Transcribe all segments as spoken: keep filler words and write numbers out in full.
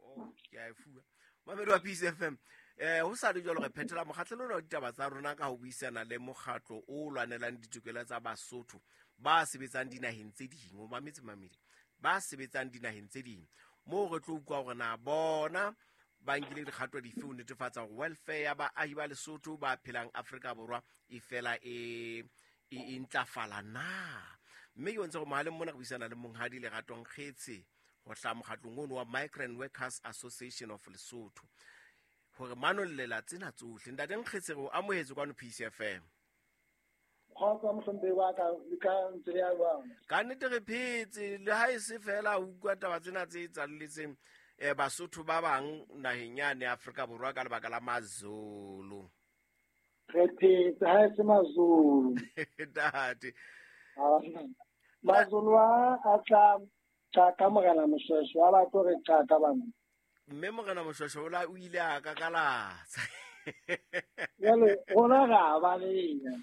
Oh, ke a e fuwa. Mamedi wa Peace F M, eh ho sa le jwalo re phethela mokgahlelo ona wa ditaba tsa rona ka ho buisana le mokgatlo o lwanelang ditokelo tsa Basotho ba sebetsang dinaheng tse ding. O mametse mamedi, ba sebetsang dinaheng tse ding. Moo re tlo utlwa hore na bona ba nkile dikgato dife ho netefatsa hore welfare ya baahi ba Lesotho ba phelang Afrika Borwa e fela e, e, e ntlafala na. Mme ke bontsha hore mohaleng mona re buisana le Monghadi Lerato Nkgetse ho hlaha mokgatlong ono wa Migrant Workers Association of Lesotho hore manollela tsena tsohle. Ntate Nkgetse, re o amohetse kwano Peace F M. Kgotsa mohlomphehi wa ka, le ka ntse le ya jwang? Ka nnete re phetse, le ha e se fela o utlwa taba tsena tse etsahalletseng, eh, Basotho ba bang naheng yane ya Afrika Borwa ka lebaka la Mazulu. Re phetse ha e se Mazulu. Ntate. Ah, Mazulu a, a tla qaka Morena Moshoeshoe, a ba tlo re qaka bana. Mme Morena Moshoeshoe o la, o ile a kakalatsa. Jwale rona re a baleha.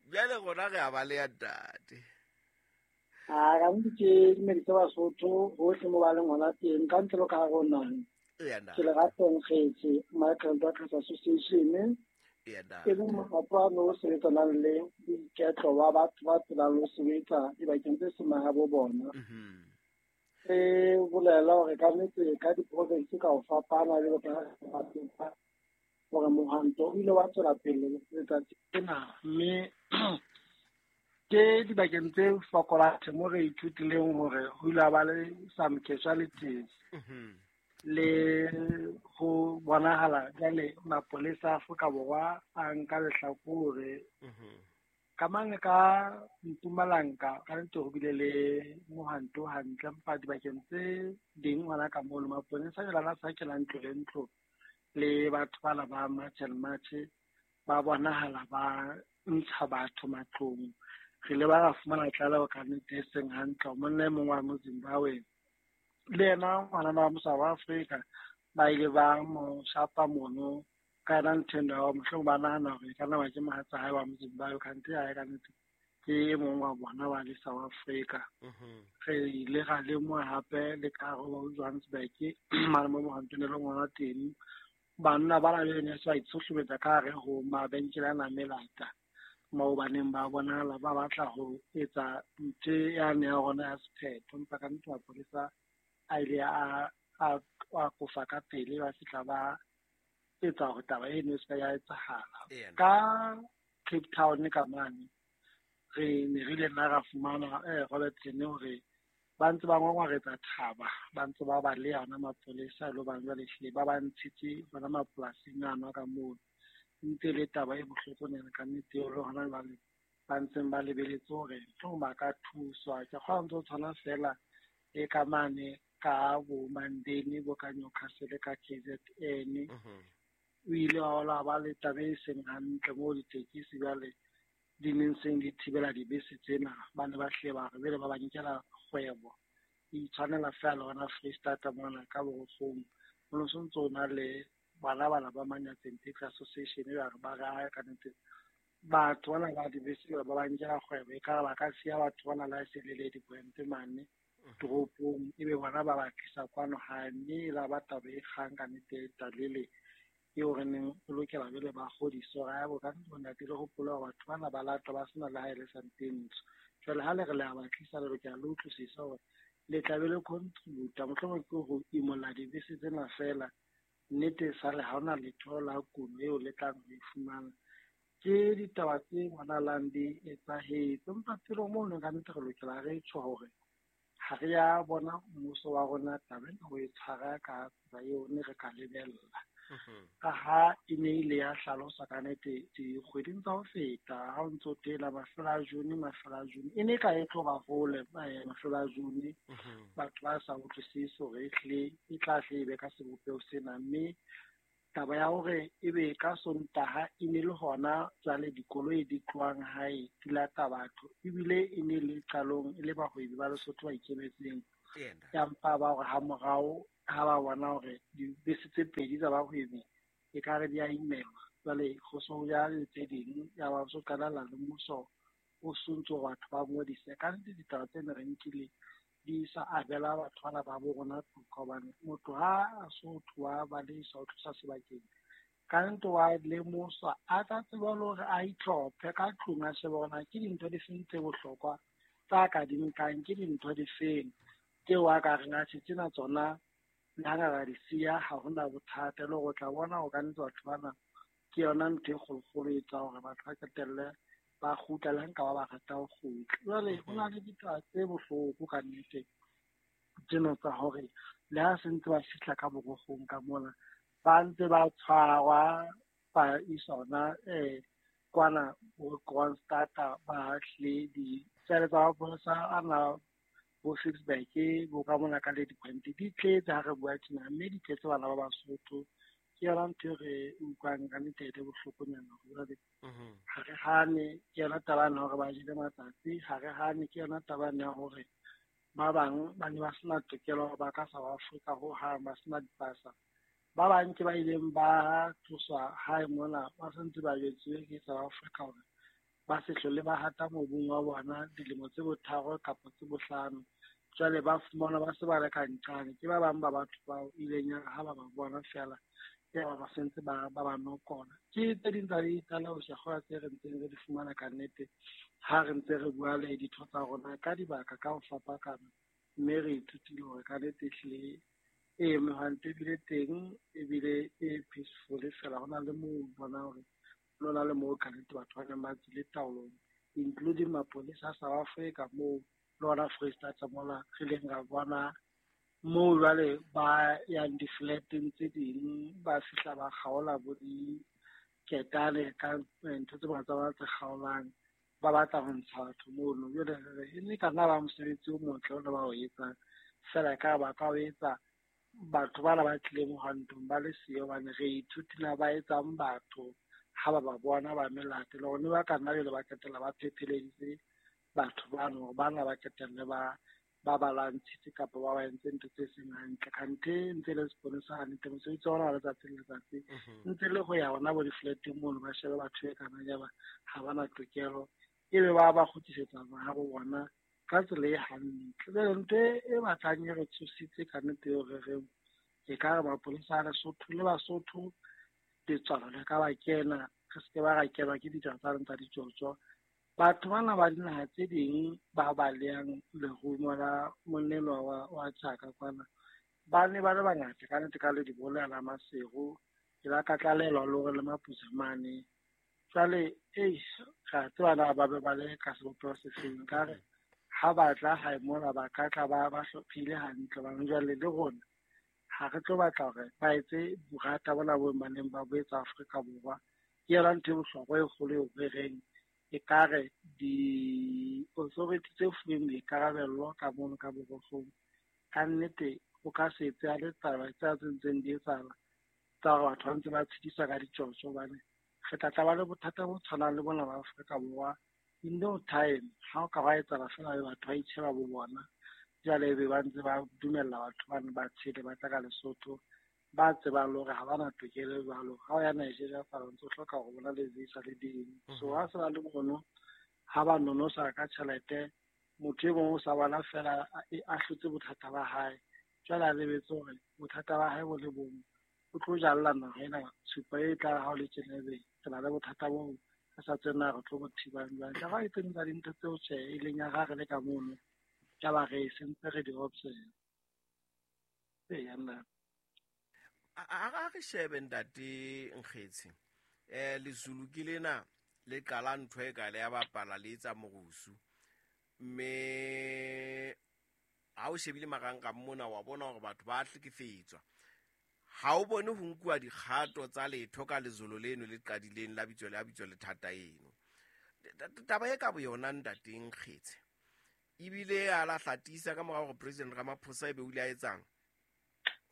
Jwale rona re a baleha, ntate. Ah, ka nnete ke dumedise Basotho hohle mo ba leng hona teng, ka ntle le ka hare ho naha. Eya, ntate. Ke Lerato Nkgetse, Migrant Workers Association. Eya, ntate. E leng mokgatlo wa no sebetsanang le boiketlo ba batho ba phelang le ho sebetsa dibakeng tse seng mahabo bona. Mhm. Re bolela hore ka nnete ka diprovince ka ho fapana jwalo ka ha hore mohwanto o ile wa tswela pele letsatsi lena, mme ke dibakeng tse fokolang mo re ithutileng hore ho ile ha ba le some casualties. Mhm. Le ho bonahala jwale mapolesa a Afrika Borwa a nka lehlakore. Mhm. Ka mane ka Mpumalanga, ka nnete ho bile le mohwanto hantle, empa dibakeng tse ding hona ka mono maponesa jwale a sa kena ntlo le ntlo, le batho bana ba March and March ba bonahala ba ntsha batho matlong. Re ile ba ra fumana tlaleho ka nnete e seng hantle, monna e mong wa mo Zimbabwe le yena ngwanana wa South Africa ba ile ba mo shapa mono ka yona ntho eno ya hore mohlomong ba nahana hore e ka nna ba ke mohatsa hae wa mo Zimbabwe, kante ha e ka nnete ke e mong wa bona wa le South Africa. Mhm. Re ile ra lemoha hape le ka hare ho Johannesburg, mane mo mohwantong e leng hona teng, banna ba na le ne se ba itshohlometsa ka hare ho mabenkele a nang melata, moo ba neng ba bonahala ba batla ho etsa ntho yane ya rona ya sephetho, empa ka nnete mapolesa a ile a, a, a kofa ka pele, ba fihla ba etsa hore taba eno e se ka ya etsahala. Eya, ntate. Ka Cape Town ka mane, re ne re ile nna ra fumana, eh, Robertson hore ba ntse ba ngwangwaretsa thaba, ba ntse ba baleha hona mapolesa, le hobane jwale ehlile ba ba ntshitse hona mapolasing ano a ka mono. Ntse e le taba e bohloko nyana ka nnete eo, le hona jwale ba ntseng ba lebeletse hore mohlomong ba ka thuswa. Ke kgolwa ntse ho tshwana feela le ka mane ka bo Mandeni, bo ka Newcastle, ka K Z N. Mhm. O ile wa hola ba le taba e seng hantle moo ditekesi jwale di neng seng di thibela dibese tsena, ba ne ba hle ba re jwale ba ba nkela kgwebo. E itshwanela feela le hona Freistata mona ka Borokgong. Ho no sontso ho na le bana bana ba Manyatseng Taxi Association e ba re ba re, ae, ka nnete batho bana ba dibese ba ba nkela kgwebo, ekare ba ka siya batho bana le ha e se le le dipoente mane Mhm. toropong, ebe bona ba ba tlisa kwano hae. Mme e la ba taba e kgang ka nnete e talele eo re neng re lokela jwale ba kgodise hore, ae, bo ka nnete ntate le hopole hore batho bana ba latwa ba sena le ha e le sente ntsho. Jwale ha le re le a ba tlisa, le lokela le utlwisise hore le tla be le contributa, mohlomong ke ho imolla dibese tsena feela. Nnete sale ha hona letho la kuno eo le tlang ho e fumana. Ke ditaba tse bonahalang di etsahetse, empa pele mono ka nnete re lokela re tjho hore ha re ya bona mmuso wa rona taba ena ho e tshwara ka tsela eo ne re ka lebella. Mhm. Ka ha e ne ile ya hlaloswa ka nnete dikgweding tsa ho feta, ha o ntso tela mafelo a June, mafelo a June, e ne ka e tlo ba hole, eh, mafelo a June, Mhm. batho ba sa utlwisise hore ehlile e tla hle e be ka sebopeho sena. Mme taba ya hore ebe ka Sontaha e ne le hona jwale dikoloi di tlohang hae di lata batho, ebile e ne le qalong e le bahwebi ba Lesotho ba ikemetseng. Eya, ntate. Ya mpa ba hore ha morao ha ba bona hore dibese tse pedi tsa bahwebi ekare di a imelwa, jwale ho so ya le tse ding, ya ba so qalella le mmuso o sontso batho ba ngodise. Ka nnete ditaba tsena re nkile di sa abela batho bana ba bo rona toka, hobane motho ha a so tloha ba le sa o tlosa sebakeng ka nnete wa lemoswa a tla tseba le hore a itlhophe ka tlung a shebe hore na ke dintho di feng tse bohlokwa tsa ka di nkang, ke dintho di feng tseo a ka reng atjhe tsena tsona le ha nka di siya ha hona bothata. Le hore o tla bona hore ka nnete batho bana ke yona ntho e kgolokgolo e etsang hore batho ba qetelle ba kgutla le ha nka ba ba rata ho kgutla. Jwale ho na le ditaba tse bohloko ka nnete tsena tsa hore le ha se ntse ba fihla ka borokgong ka mona ba ntse ba tshwarwa ba iswa hona um kwana bo Kroonstad ba hlile ditsele tsa mapolesa ana bo Ficksburg bo ka mona ka Lady Point di tletse ha re bua tjena, mme di tletse bana ba Basotho. Ke yona ntho e re utlwang ka nnete e le bohlokonyana hore jwale ha re hane, ke yona taba ena hore ba jele matsatsi, ha re hane, ke yona taba ena ya hore ba bang ba ne ba sena tokelo ba ka South Africa hohang, ba sena dipasa. Ba bang ke ba ileng ba tloswa hae mona ba santse ba jwetsuwe ke South Africa hore ba se hlole ba hata mobung wa bona dilemo tse botharo kapa tse bohlano. Jwale ba fumana ba se ba le ka nqane. Ke ba bang ba batho bao ileng ya ha ba ba bona feela ya ba ba sentse ba ba ba nokola. Ke tse ding tsa ditlaleho Shakgola tse re ntseng re di fumana ka nnete ha re ntse re bua le ditho tsa rona ka dibaka ka ho fapakana, mme re ithutile hore ka nnete ehlile e mehwanto ebile teng ebile e peaceful fela. Ho na le moo bona hore lona le moo ka nnete batho ba neng ba tswile taolong, including mapolesa a South Africa moo le hona Foreisetata mola re ileng ra bona moo jwale ba yang di-flat-eng tse ding ba fihla ba kgaola bo diketane ka ntho tse ba tsa ba tse kgaolang ba batla ho ntsha batho mono. Jwale re re e ne ka nna ba mosebetsi o motle o ne ba o etsang fela ka ba ka o etsa batho bana ba tlileng mohwantong ba le siyo, hobane re ithutile ba etsang batho ha ba ba bona ba melate le hore ne ba ka nna jwale ba qetella ba phepheleditse batho bano hore bana ba qetelle ba ba ba lwantshitse kapa ba ba entse ntho tse seng hantle. Kganthe ntse le seponesa hantle mosebetsi wa ona wa letsatsi le letsatsi ntse le ho ya hona bo di-flat-eng mono ba shebe batho e kana ya ba ha ba na tokelo ebe ba ba kgutlisetsa mahabo bona ka tsela e hantle. Jwale ntho e batlang e re tshositse ka nnete eo re reng e ka re mapolesa a Lesotho le Basotho letswalo le ka ba kena re se ke ba ra kenwa ke ditaba tsa rona tsa ditjotjo. Batho bana ba dinaha tse ding ba balehang lerumo la monnelwa wa wa tjhaka kwana ba ne ba le bangata ka nnete ka le dibola la Maseru ke la ka tlalelwa le hore le Mapusa mane. Jwale eish ra tseba na ba be ba le ka sebopeho se feng ka re ha ba tla hae mona ba ka tla ba ba hlophile hantle hobane jwale le rona ha re tlo batla hore ba etse borata bona bo ba neng ba bo etsa Afrika Borwa. Ke yona ntho e bohlokwa e kgolo eo re reng ekare di-authority tse fuweng boikarabello ka mono ka borokgong ka nnete o ka se etse a le taba tse tse ntseng di etsahala tsa hore batho ba ntse ba tshediswa ka ditjotjo, hobane re tla tla ba le bothata bo tshwanang le bona ba Afrika Borwa in no time. Ha o ka ba etsahala feela ebe batho ba itjheba bo bona jwale ebe ba ntse ba dumella batho bane ba tshele ba tla ka Lesotho ba tsebang le hore ha ba na tokelo jwalo. Ha o ya Nigeria fela o ntso hloka hore bona le visa le ding. So ha se ba le mono ha ba nonosa ka tjhelete motho e mong o sa bona fela a hlotse bothata ba hae. Jwale a lebetse hore bothata ba hae bo le bong o tlo jalla naha ena tshupa e tla ha o le tjena ebe re na le bothata bo re sa tsebe na re tlo bo thibang jwang. Ka ha e tse ding tsa dintho tseo tjhe e leng ya ha re le ka mono ya ba re sentse re di observe. Eya nna. A re shebe ntate Nkgetse eh Lezulu ke lena le qala ntho e ka le ya bapala le etsa morusu, mme ha o shebile marangrang mona wa bona hore batho ba hlekefetswa. Ha o bone ho nkuwa dikgato tsa letho ka lezolo leno le qadileng la bitso la bitso le thata eno. Taba e ka bo yona ntate Nkgetse ebile a la hlatisa ka mora hore President Ramaphosa ebe o ile a etsang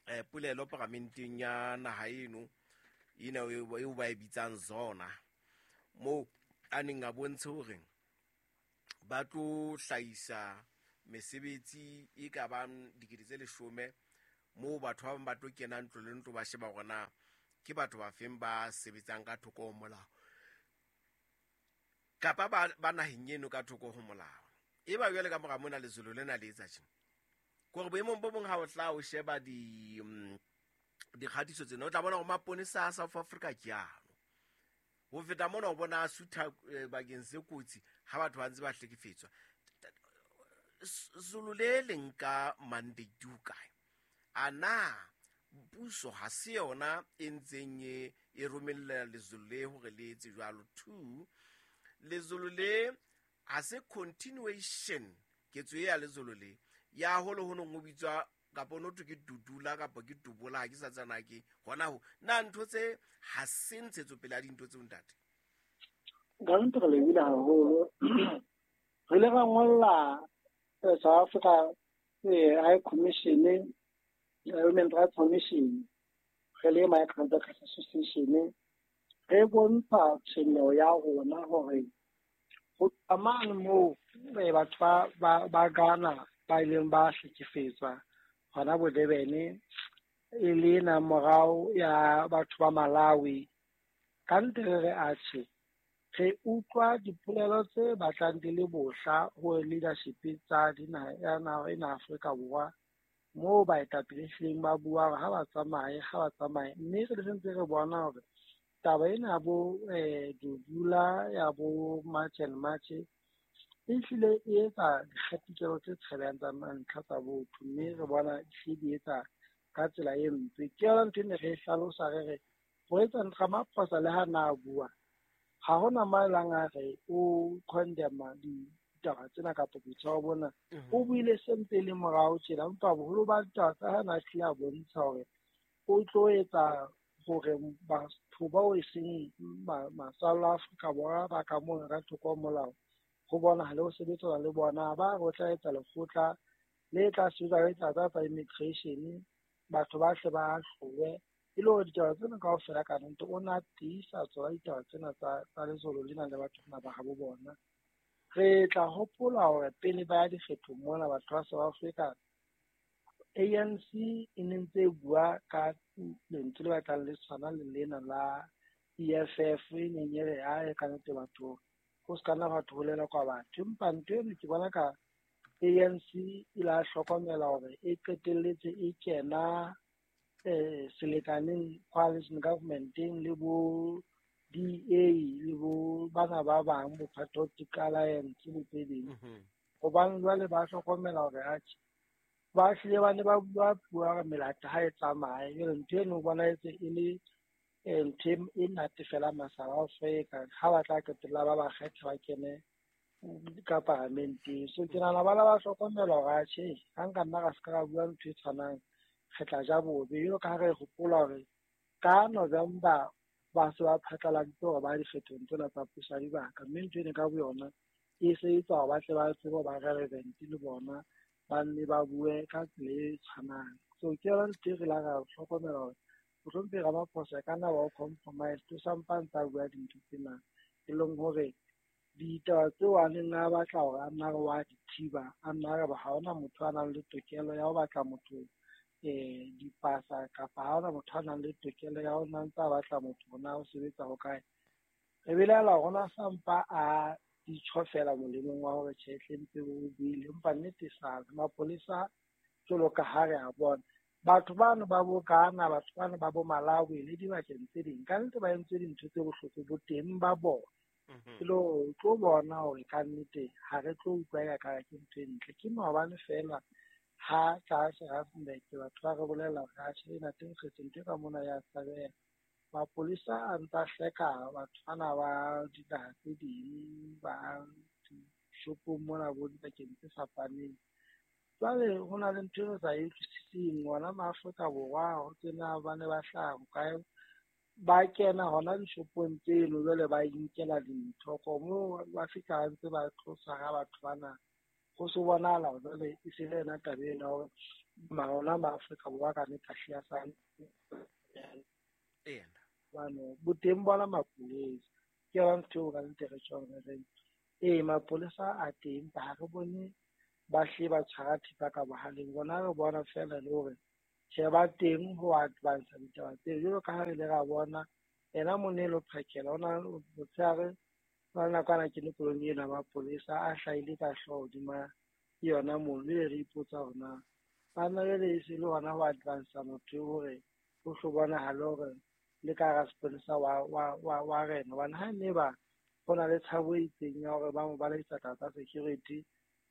eh polelo paramenteng ya naha eno ena eo ba e bitsang zona moo a neng a bontshe hore ba tlo hlahisa mesebetsi e ka bang dikete tse leshome moo batho ba bang ba tlo kena ntlo le ntlo ba sheba hore na ke batho ba feng ba sebetsang ka thoko ho molao kapa ba ba naheng eno ka thoko ho molao. E ba jwale ka mora mona lezolo lena le etsa tjena. Kore boemong bo bong ha o tla o sheba di dikgatiso tsena o tla bona hore maponesa a South Africa ke ano. Ho feta mona o bona a sutha bakeng se kotsi ha batho ba ntse ba hlekefetswa. Zulu le leng ka mandate o kae? A na puso ha se yona e ntseng e e romella lezulu le hore le etse jwalo? Two, lezulu le ha se continuation ketso ya lezulu le ya holo ho nong o bitswa kapa no ke dudula kapa ke dubola ha ke sa tsana ke hona ho na ntho tse ha se ntshetso pele a dintho tseo ntate. Ka ntho re lebile haholo re le ra ngolla South Africa High Commission, Human Rights Commission, re le Migrant Workers Association, re bontsha tshwenyeho ya rona hore ho tsamaya moo batho ba ba Ghana ba ileng ba hlekefetswa hona bo Durban e le na morao ya batho ba Malawi. Ka ntle re re atjhe re utlwa dipolelo tse batlang di le bohla ho leadership tsa dinaha ya naha ena Afrika Borwa moo baetapele hlileng ba bua hore ha ba tsamaye ha ba tsamaye, mme re sentse re bona hore taba ena bo eh Dudula ya bo March and March e hlile e etsa dikgatikelo tse tshabehang tsa mantlha tsa botho, mme re bona e di etsa ka tsela e mpe. Ke yona ntho e ne re e hlalosa re re ho etsa Ramaphosa le ha na bua ha hona maelang a re o condemn ditaba tsena kapa boitshwaro bona, o buile se ntse le morao tjena, empa boholo ba ditaba tsa hae na hlile a bontsha hore o tlo etsa hore batho bao e seng masalla Afrika Borwa ba ka mona ka thoko ho molao ho bonahale ho sebetsana le bona, ba re o tla etsa lekgotla le tla sebetsa ka ditaba tsa immigration, batho ba hle ba hlowe e le hore ditaba tsena kaofela ka nnete o na tiisa tsona ditaba tsena tsa tsa lezolo lena le batho bana ba habo bona. Re tla hopola hore pele ba ya dikgethong mona batho ba South Africa A N C e ne ntse e bua ka lentswe le batlang le tshwana le lena la E F F e neng e re ae ka nnete batho ho se ka nna batho holela kwa batho, empa ntho eno ke bona ka A N C e la hlokomela hore e qetelletse e kena eh selekaneng coalition governmenteng le bo D A le bo bana ba bang bo Patriotic Alliance le tse ding. Hobane jwale ba hlokomela hore atjhe ba hlile ba ne ba bua puo ya hore melata ha e tsamaye, jwale ntho eno o bona etse e le ntho e natefela masala Afrika ha ba tla qetella ba ba kgetha ba kene ka paramenteng. So ke nahana ba la ba hlokomela hore atjhe ha nka nna ra se ka ra bua ntho e tshwanang re tla ja bobe. Jwalo ka ha re hopola hore ka November ba se ba phatlaladitse hore ba dikgethong tsena tsa puso ya dibaka, mme ntho ena ka boyona e se etsa hore ba tle ba tsebe ba relevant le bona ba nne ba bue ka tsela e tshwanang. So ke yona ntho e re la ra hlokomela hore mohlomphehi Ramaphosa ka nna wa o compromise o sampa ntse a bua dintho tsena e leng hore ditaba tseo a neng a batla hore a nna re wa di thiba, a nna re ha hona motho a nang le tokelo ya ho batla motho eh dipasa kapa ha hona motho a nang le tokelo ya ho nna ntse a batla motho hona o sebetsa ho kae. Re belaela hore ona sampa a ditjho fela molemong wa hore tjhe hle ntse o buile, empa nnete sa mapolesa jwalo ka ha re a bona batho bano ba bo Ghana, batho bano ba bo Malawi le dibakeng tse ding ka nnete ba entse dintho tse bohloko bo teng ba bona. E le hore o tlo bona hore ka nnete ha re tlo utlwa eka ka ke ntho e ntle. Ke maobane fela ha tlase Rustenburg batho ba re bolella hore atjhe ena teng kgetho ntho e ka mona ya tshabeha. Mapolesa a ntsa hleka batho bana ba dinaha tse ding ba dishopong mona bo dibakeng tse fapaneng. Jwale ho na le ntho e re sa e utlwisiseng ona ma Afrika Borwa ho tsena ba ne ba hlaha hokae ba kena hona dishopong tseno jwale ba inkela dintho moo ba fihla ntse ba tlo tshwara batho bana ho se bonahala hore jwale e se le yona taba ena hore ona ma Afrika Borwa ka nnete a hlile a sa bano boteng bona mapolesa ke yona ntho eo ka nnete re tjhong re reng ee mapolesa a teng empa ha re bone ba hle ba tshwara thipa ka bohaleng. Rona re bona fela le hore tjhe ba teng ho advance ditaba tseo jwalo ka ha re ile ra bona ena Monelo Phakela ona motshehare ba nakwana ke le koloing ena mapolesa a hlahile ka hlooho hodima yona mono, ebe re ipotsa hore na Banna jwale e se le hona ho advance motho hore o hlo bonahale hore le ka hara sepolesa wa wa wa wa rena. Hobane ha ne ba ho na le tshabo e itseng ya hore ba mo baleisa taba tsa security,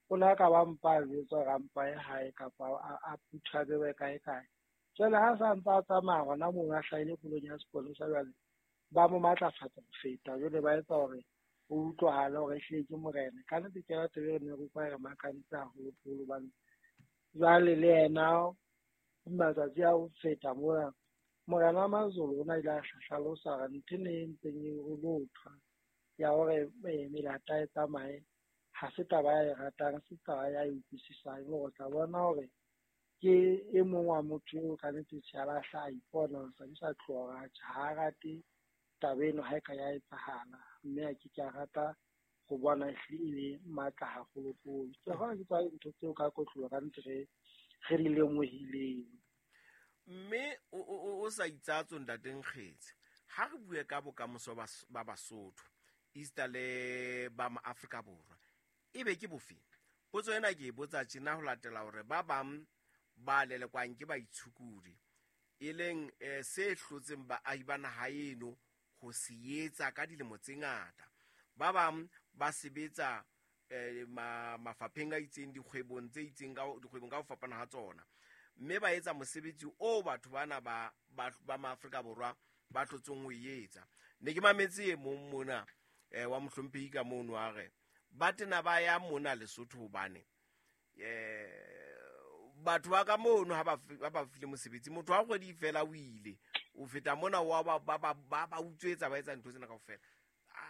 o ne a ka ba mpa a jwetsa hore a mpa ye hae kapa a phutha a bewe kae kae. Jwale ha sa ntse a tsamaya hona moo a hlahile koloing ya sepolesa jwale ba mo matlafatsa ho feta. Jwale ba etsa hore ho utlwahale hore ehlile ke morena. Ka nnete ke yona taba e re ne re utlwa e re makaditse haholoholo hobane jwale le yena matsatsi a ho feta mona morena wa Mazulu o na ile a hlalosa hore ntho ena e ntseng e lothwa ya hore melata e tsamaye ha se taba ya e ratang, se taba ya e utlwisisang. Hore o tla bona hore ke e mong wa motho eo ka nnete tjhe a lahla a ipona hore sa di sa tloha hore ha a rate taba eno ha e ka ya etsahala, mme a ke ke a rata ho bona ehlile e le matla haholoholo. Ke kgolwa ke tsona dintho tseo ka kotloloho ka nnete re re di lemohileng. Mme o o o sa itsatso ntate Nkgetse, ha re bue ka bokamoso ba Basotho esita le ba Maafrika Borwa, ebe ke bofe? Potso ena ke e botsa tjena ho latela hore ba bang ba lelekwang ke baitshokodi, e leng eh, se hlotseng baahi ba naha eno ho se etsa ka dilemo tse ngata. Ba bang ba sebetsa eh, ma, mafapheng a itseng, dikgwebong tse itseng ka dikgwebong ka ho fapana ha tsona, mme ba etsa mosebetsi o batho bana ba ba, ba Maafrika Borwa ba tlotseng ho etsa. Ne ke mametse e mong mona eh, wa mohlomphehi ka mono a re ba tena ba ya mona Lesotho hobane eh batho ba ka mono ha ba ba file mosebetsi, motho wa kgwedi fela o ile o feta mona wa ba ba ba ba utswetsa ba etsa ntho tsena kaofela.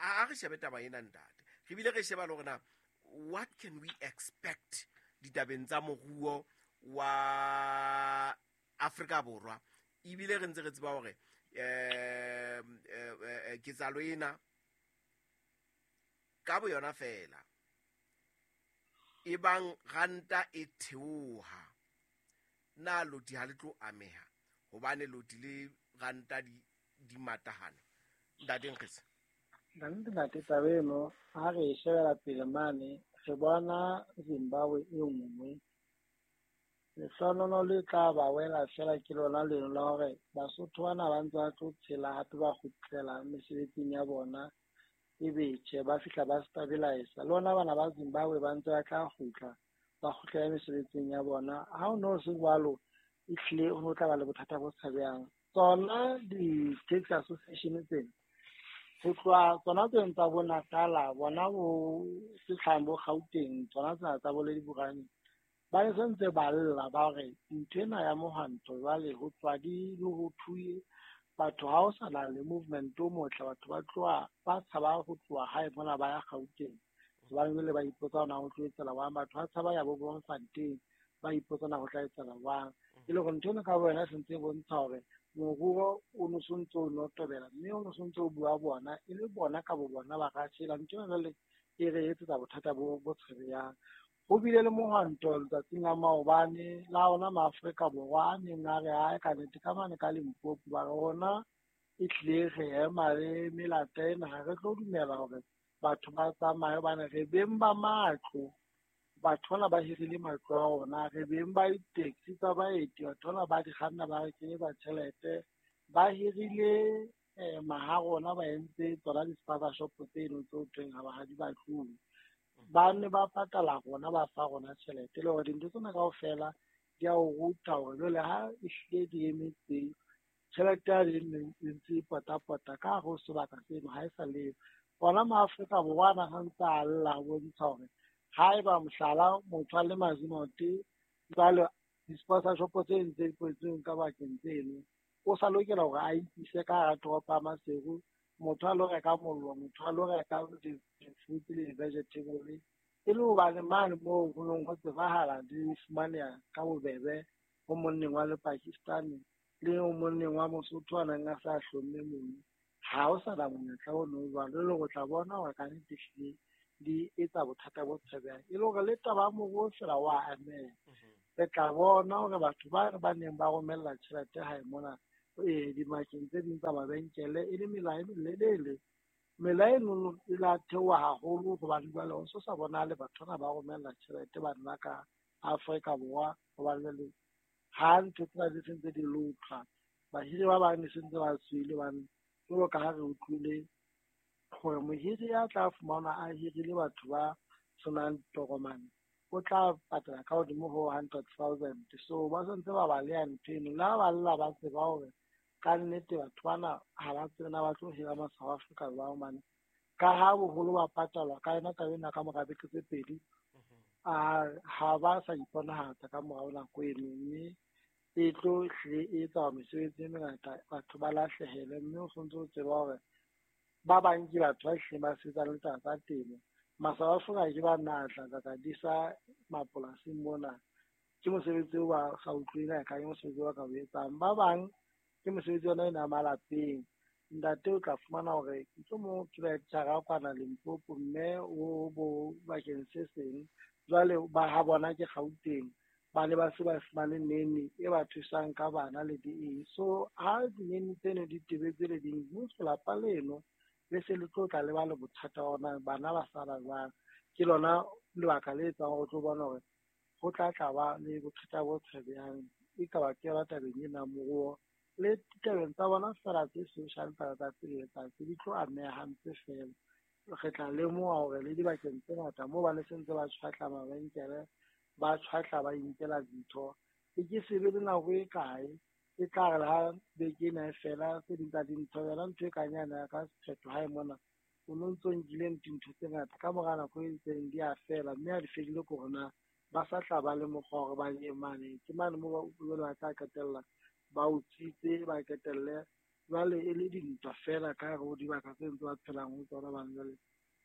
A re shebe taba ena ntate, re bile re sheba le hore na what can we expect ditabeng tsa moruo wa Afrika Borwa, ebile re ntse re tseba hore eh ketsahalo ena ka boyona fela e bang ranta e theoha, na loti ha le tlo ameha hobane loti le ranta di di matahane? Ntate Nkgetse. Ntate ntate taba eno ha re e shebela pele mane re bona Zimbabwe e nngwe. Lehlohonolo le tla ba wela fela ke lona leno la hore Basotho bana ba ntse ba tlo tshela hape ba kgutlela mesebetsing ya bona, ebe tjhe ba fihla ba stabilize. Le ona bana ba Zimbabwe ba ntse ba tla kgutla ba kgutlela mesebetsing ya bona. Ha ho no se jwalo, ehlile ho tla ba le bothata bo tshabehang. Tsona di-taxi association tsena ho tloha tsona tseno tsa bo Natala, bona bo Setlhang, bo Gauteng, tsona tsena tsa bo Lediborane, ba ne sentse ba lla ba hore ntho ena ya mohwanto jwale ho tloha di ho thuye batho, ha ho sa na le movement o motle, batho ba tloha ba tshaba ho tloha hae mona ba ya Gauteng hobane jwale ba ipotsa hore na ho tlo etsahala jwang. Batho ba tshaba ya bo Bloemfontein, ba ipotsa na ho tla etsahala jwang. E le hore ntho ena ka bo yona e sentse e bontsha hore moruo o no sontso o notobela, mme o no sontso o bua bona e le bona ka bo bona ba ka tshela. Ntho ena jwale e re etsetsa bothata bo bo tshabehang. Ho bile le mohwanto letsatsing la maobane la ona Maafrika Borwa a neng a re ae ka nnete ka mane ka Limpopo, ba re rona ehlile re ema le melata ena, ha re tlo dumela hore batho ba tsamaye hobane re beng ba matlo, batho bana ba hirile matlo a rona, re beng ba di-taxi tsa baeti, batho bana ba di kganna ba re kenyetsa tjhelete, ba hirile eh, maha rona ba entse tsona di-spaza shop tseno tse ho thweng ha ba ha di batluwe, ba ne ba patala rona, ba fa rona tjhelete. Le hore dintho tsena kaofela di a o ruta hore jwale ha ehlile di emetse tjhelete ya e ntse e potapota ka hare ho sebaka seno ha e sa leyo. Ona Maafrika Borwa ana ha ntse a lla ho bontsha hore haeba mohlala motho a le Mazimote jwale di-spaza shop tse ntse di kwetsweng ka bakeng tseno, o sa lokela hore a ikise ka hara toropo ya Maseru, motho a lo reka mollo, motho a lo reka di-fruit le di-vegetable, e le hobane mane moo ho neng ho tsebahala di fumaneha ka bobebe ho monneng wa le Pakistani le ho monneng wa Mosotho a neng a sa hlomme mono. Ha ho sa na monyetla ono o jwalo, e le hore o tla bona hore ka nnete ehlile di etsa bothata bo tshabehang. E le hore le taba ya moruo fela wa ameha. Re tla bona hore batho ba ba neng ba romella tjhelete hae mona eh dimakeng tse ding tsa mabenkele e le mela e melelele, mela eno e la theoha haholo hobane jwale ho so sa bonahale batho bana ba romella tjhelete ba nna ka Afrika Borwa, hobane jwale Ha ntho tsena di sentse di lotlwa, bahiri ba bang ne sentse ba tswile hobane jwalo ka ha re utlwile hore mohiri ya tla fumanwa a hirile batho ba senang ditokomane o tla patala ka hodimo ho hundred thousand. So ba sentse ba baleha ntho eno. Le ha ba lla ba tseba hore ka nnete batho bana ha ba tsebe na ba tlo hira ma South Africa jwang hobane ka ha boholo ba patalwa ka yona taba ena ka mora beke tse pedi, a ha ba sa iponahatsa ka morao nako eno, mme e tlo hlile e etsa mesebetsi e mengata batho ba lahlehele. Mme o sontse o tseba hore ba bang ke batho ba hlileng ba sebetsang le taba tsa temo. Ma-South Africa ke ba natla tsa tla disa mapolasing mona, ke mosebetsi o ba sa utlweng ka ke mosebetsi o ba ka o etsang. Ba bang ke mosebetsi ona ena malapeng. Ntate o tla fumana hore mohlomong ke lecturer kwana Limpopo, mme o bo bakeng se seng, jwale ba ha bona ke Gauteng, ba ne ba se ba fumane nene e ba thusang ka bana le di eng. So ha dinene tseno di tebetse le ding, mmuso lapa leno le se le tlo tla le ba le bothata ona bana ba sala jwang. Ke lona lebaka le etsang hore o tlo bona hore ho tla tla ba le bothata bo tshebehang, e ka ba ke yona tabeng ena moruo le ditabeng tsa bona fela tse social tsa letsatsi le letsatsi di tlo ameha hampe fela. Re tla lemoha hore le dibakeng tse ngata moo ba ne sentse ba tshwatla mabenkele, ba tshwatla ba inkela dintho, e ke se be le nako e kae e tla re ha beke ena e fela tse ding tsa dintho yona ntho e kang yana ya ka sephetho hae mona o no ntso nkile dintho tse ngata ka mora nako e itseng di a fela, mme ha di fedile ke hore na ba sa tla ba le mokgwa hore ba ye mane ke mane moo ba ba tla qetella ba utswitse, ba qetelle jwale e le dintwa fela ka hare ho dibaka tse ntse ba phelang ho tsona. Bane jwale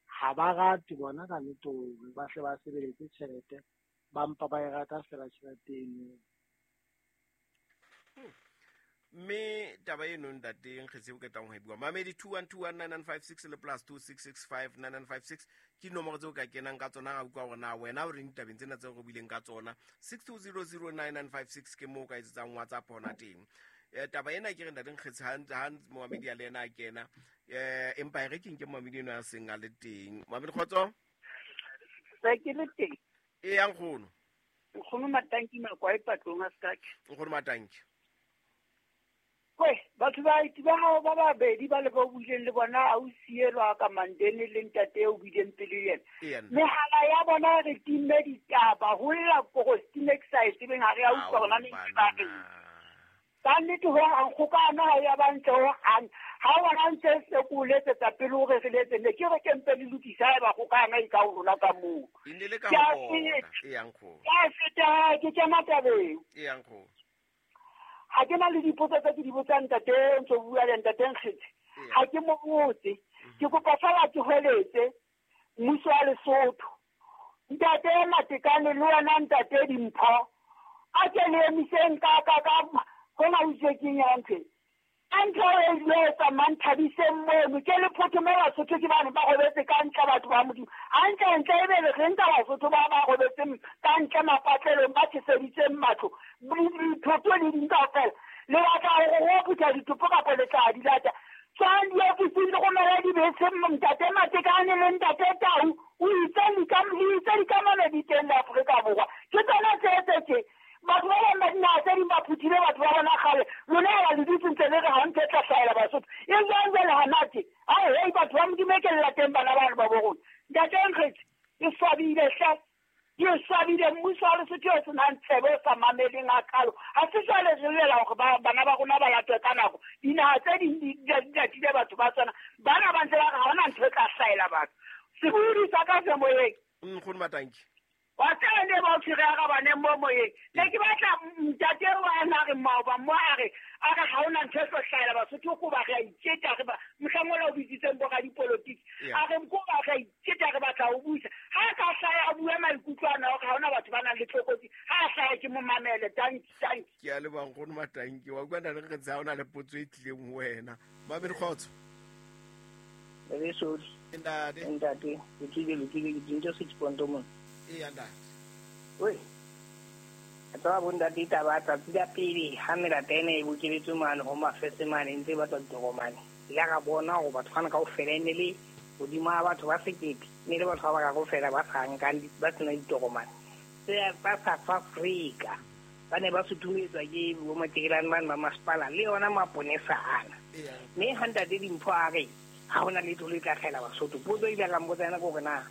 ha ba rate bona ka nnete hore ba hle ba sebeletse tjhelete, ba mpa ba e rata fela tjhelete eno. Mme taba eno ntate Nkgetse o qetang ho e bua, mamedi two one two one nine nine five six le plus two six six five nine nine five six ke dinomoro tseo ka kenang ka tsona. Ra utlwa hore na wena o reng ditabeng tsena tseo re buileng ka tsona. six two zero zero nine nine five six ke moo o ka etsetsang WhatsApp hona teng. Eh, taba ena ke re ntate Nkgetse ha ha momamedi a le ena a kena, eh empa e re ke nke momamedi eno a seng a le teng. Momamedi kgotso? Se ke le teng. E yang nkgono. Nkgono Matanki Makwai patlong a Skak. Nkgono Matanki. Kwe, batho ba ba hao ba babedi ba le ba buileng le bona a o sielwa ka Mandene le ntate o buileng pele yena. Mehala ya bona re timme ditaba ho lla korostine ke sa e tsebeng ha re a utlwa hona ne ba re. Ka nnete ho hang kgokano ha ya ba ntle ho hang. Ha wona ntse se ko letsetsa pele hore re letse ne ke re ke mpe le lokisa ha eba kgokano e ka ho rona ka moo. E ne le ka ho bona. E yang nkgono. Ke a feta ke kena tabeng. E yang nkgono. Ha ke na le dipotso tse ke di botsang ntate ntse o bua le ntate Nkgetse. Ha ke mo botse. Ke kopa fela ke hweletse mmuso wa Lesotho. Ntate Matekane le wena ntate Dimpho. A ke le emiseng ka ka ka hona o itse keng ya ntho. A ntho e le etsa manthabiseng mono ke le photho mo Basotho ke bane ba robetse ka ntle batho ba Modimo. Hantle ntle e be le re nka Basotho ba ba robetseng ka ntle mapatlelong ba tjheseditseng matlo. Dithoto le ding kaofela. Le batla hore ho phutha ditopo kapa le tla di lata. Tswang diofising le romela dibese ntate Matekane le ntate Tau. O itse itse dikamano di teng le Afrika Borwa. Ke tsona tse tse tje. Batho ba bang ba dinaha tse ding ba phuthile batho ba bona kgale. Lona ha le dutse ntse le re ha ntho e tla hlahela Basotho. E jwang jwale hana tje? Ao hei batho ba Modimo e ke le lateng bana bano ba bo rona. Ntate Nkgetse, ke swabile hle. Ke swabile mmuso wa Lesotho o senang tshebo o sa mameleng hakalo. Ha se jwale re llela hore ba bana ba rona ba latwe ka nako. Dinaha tse ding di latile batho ba tsona. Bana ba ntse ba re ha hona ntho e tla hlahela batho. Sebodi sa ka se moyeng. Nkgono Matanki. Wa tseba ne ba o tshwere a rabaneng mo moyeng. Ne ke batla ntate wa na re maoba mo a re a re ha hona ntho e tlo hlahela Basotho ko ba re a itjeta re ba mohlang ola o bitsitseng bo radipolotiki. A re ko ba re a itjeta re batla ho busa. Ha ka hlaya a bua maikutlo ana hore ha hona batho ba nang le tlokotsi. Ha a hlaya ke mo mamele. Tanki tanki. Ke a leboha nkgono Matanki. Wa utlwa ntate Nkgetse ha hona le potso e tlileng ho wena. Mamedi kgotso. Re sodi. Ntate. Ntate, ke tlile le tlile ke dintho six point mona. E ntate. Oi. Tsa bo ntate taba tsatsi la pele ha melata ena e bokeletswe mane ho mafese mane ntse ba tswa ditokomane. Ile ra bona hore batho bana kaofela e ne le hodima batho ba sekete, ne le batho ba ba kaofela ba sa nkang ba sena ditokomane. Tse ba South Africa. Ba ne ba sutumetswa ke bo matjekelane bane ba masepala le yona maponesa ana. Mme ha ntate Dimpho a re ha hona letho le tla kgela Basotho, potso e ile ka mpotsa yona ke hore na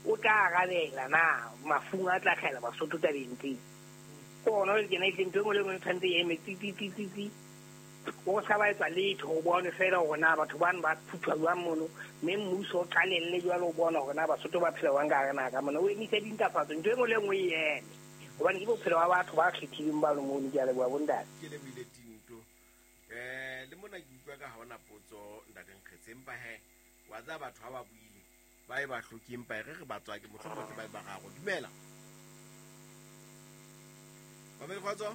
o tla arabela na mafung a tla kgela Basotho tabeng tseo. Ke hona le kena ehlile ntho e nngwe le e nngwe e tshwanetse e eme tsi tsi tsi tsi tsi. O ska ba etsa letho o bone fela hore na batho bano ba phuthwa jwang mono, mme mmuso o qalelle jwalo o bona hore na Basotho ba phela jwang ka hare naha ka mona. O emise dintlafatso, ntho e nngwe le e nngwe e eme. Hobane ke bophelo ba batho ba kgethileng bano mono. Ke a leboha bontate. Ke lebohile Tinto. Eh le mona ke utlwa ka ha hona potso ntate Nkgetse, empa he wa tseba batho ha ba buile ba e ba hloke, empa e re re ba tswake mohlomong ke ba ba gago. Dumela. Mamedi kgotso.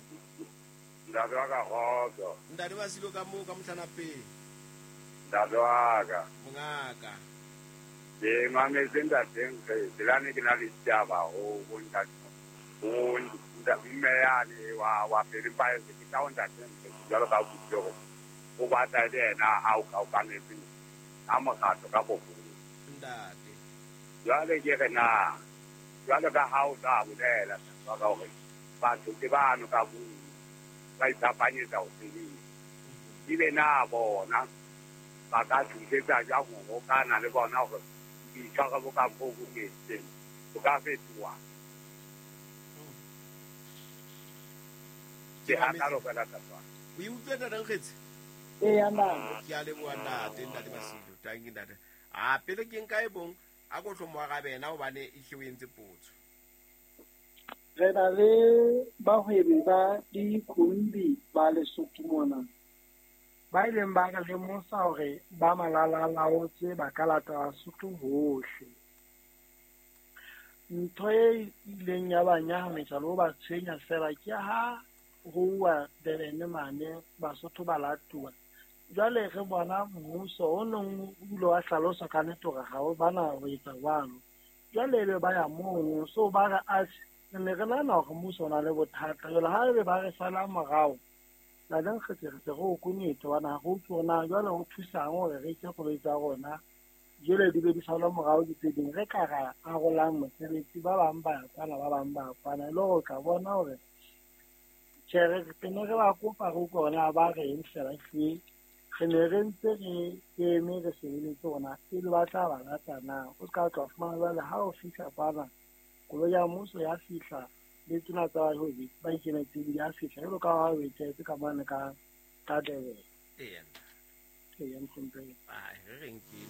Ntate wa ka kgotso. Ntate wa Silo ka moo ka mohlana pele. Ntate wa ka. Mongaka. Ke mametse ntate Nkgetse, le ha ne ke na le ditaba ho bo ntate. Ho mme yane wa wa pele ba ke tla ho ntate Nkgetse jwalo ka buti hore o batla le yena a o ka o kanetseng a mokgatlo ka boholo. Ntate. Jwale ke re na jwalo ka ha o tla bolela wa ka hore batho ke bano ka bua ba iphapanyetsa ho sebetsa. Ebe na bona ba ka thusetsa jwang ho hokana le bona hore boitshwaro bo ka bo bo entseng bo ka fetoha. Ke hakalo fela tata. O e utlwe ntate Nkgetse? Eya ntate. Ke a leboha ntate, ntate Masilo. Tanki ntate. A pele ke nka e bong a ko hlo mo arabe yena hobane e hle o entse potso. Re na le bahwebi ba dikhumbi ba Lesotho mona ba ileng ba re lemosa hore ba malalalaotse ba ka lata Basotho hohle. Ntho e ileng ya ba nyahamisa le ho ba tshwenya fela ke ha ho uwa Durban mane Basotho ba latuwa. Jwale re bona mmuso o nong o ile wa hlalosa ka nnete hore ha o bana ho etsa jwalo. Jwale ebe ba ya mono, so ba re atjhe, re ne re nahana hore mmuso o na le bothata. Jwale ha ebe ba re sala morao, ntate Nkgetse re se re o konyetse hobane ha re utlwe hore na jwale ho thusang hore re etse koloi tsa rona jwale di be di salwa morao ke tse ding. Re ka ra arolang mosebetsi, ba bang ba ya kwana, ba bang ba ya kwana, e le hore o tla bona hore tjhe re ne re ba kopa re utlwe hore na ba reng fela ehlile. Re ne re ntse re eme re shebeletse hore na pele ba tla ba lata na. O ska tla fumana jwale ha o fihla kwana koloi ya mmuso ya fihla le tsena tsa bahwebi ba ikemetseng di a fihla jwalo ka ha o etsetse ka mane ka ka Durban. Eya. Eya, mohlomphehi. Ai, re reng ke